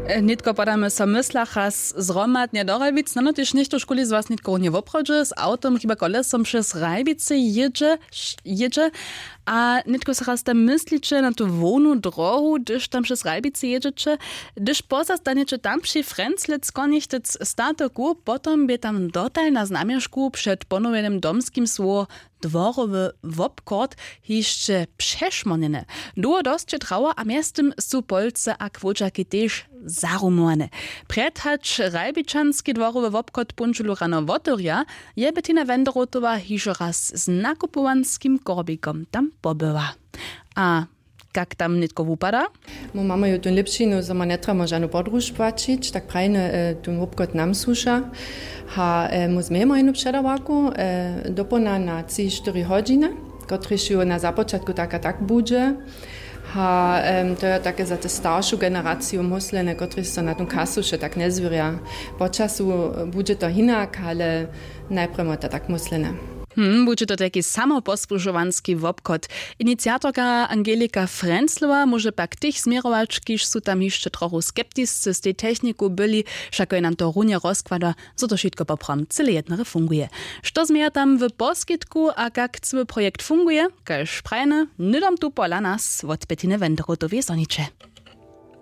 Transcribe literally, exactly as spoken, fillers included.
Nětko podamy so w myslach raz zhromadnje do Ralbic, nano tež něchto škuli z was nětko runje woprawdźe z awtom hiba kolesom přez Ralbicy jědźe, jědźe. A nětko so raz tam mysliće na tu hłownu drohu, hdyž tam přez Ralbicy jědźeće, hdyž pozastanjeće tam při Frenzlec konichtec statoku, potom bě tam dotal na znamježku před ponowjenym domskim słowo dworowy wobchod hišće přešmornjene. Dołho dosće trawa a mjeztym su polce a chłódźaki tež zarumowane. Prjed hač ralbičanski dworowy wobchod póndźelu rano wotewrja, je Bettina Wenderotowa hižo raz z nakupowanskim korbikom tam pobyła. A kak tam nětko wupada? My mamy ju tón lěpšinu, zo ma njetrjamo žanu podruž płaćić, tak prajny tón wobchod nam słuša. Ha my změjemo jenu předawarku dopołdna na tři štyri hodźiny, kotryž ju na započatku tak a tak budźe. Ha to je take za te staršu generaciju móslene, kotryž so na tón kasu wše tak njezwěrja. Po času budźe to hinak, ale najprjedy to tak móslene. Hm budźe to tajki samoposłužowanski wobchod. Iniciatorka angelika frenzlowa móže pak tych změrować kiž su tam hišće trochu skeptiscy z tej techniku byli. Wšako je nam to runje rozkłada, zo to wšitko poprawom cyle jednary funguje. Što změja tam w poskitku a kak cyły projekt funguje, kaž prajny hnydom tu pola nas wot petiny wenderotowej zhoniće.